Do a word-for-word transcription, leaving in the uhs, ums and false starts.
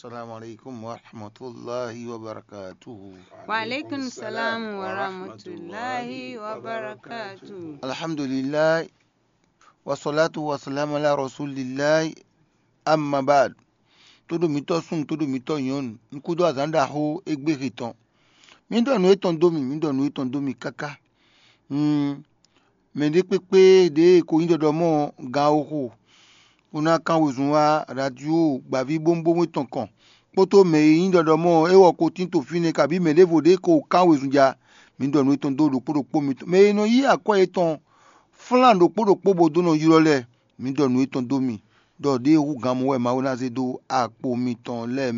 Assalamu alaikum wa rahmatullahi wa barakatuhu. Wa alaikum salam wa rahmatullahi wa barakatuh. Alhamdulillah. Wa salatu wa salam ala rasulillah. Amma ba'd. Todo mitɔ sun, todo mitɔ nyɔnu. Nkudo azan da ho egbe hetɔn. Mi dɔ nu etɔn do mi, mi dɔ nu etɔn do mi kaka. Hmm. Mɛ ɖé kpékpé ɖě ko nyí ɖɔɖɔ mɔ gan oxo, bó ná kán wezun wá radio gbǎví bómúbómú tɔn kɔn, kpódó mɛ e nyí ɖɔɖɔ mɔ é wɔ ko tín to fínɛ́, kabí mɛ ɖěvo ɖě ko kán wezun ja, mǐ ɖɔ nǔ etɔn dó ɖokpó ɖokpó mitɔn. Mɛ e nɔ yí akwɛ́ yětɔn flán ɖokpó ɖokpó bó dó nɔ ylɔ́ lɛ́ɛ, mǐ ɖɔ nǔ etɔn dó mi, ɖɔ ɖěe hú gan mɔ wɛ Mawu ná zé dó akpo mitɔn lɛ́ɛ mɛ.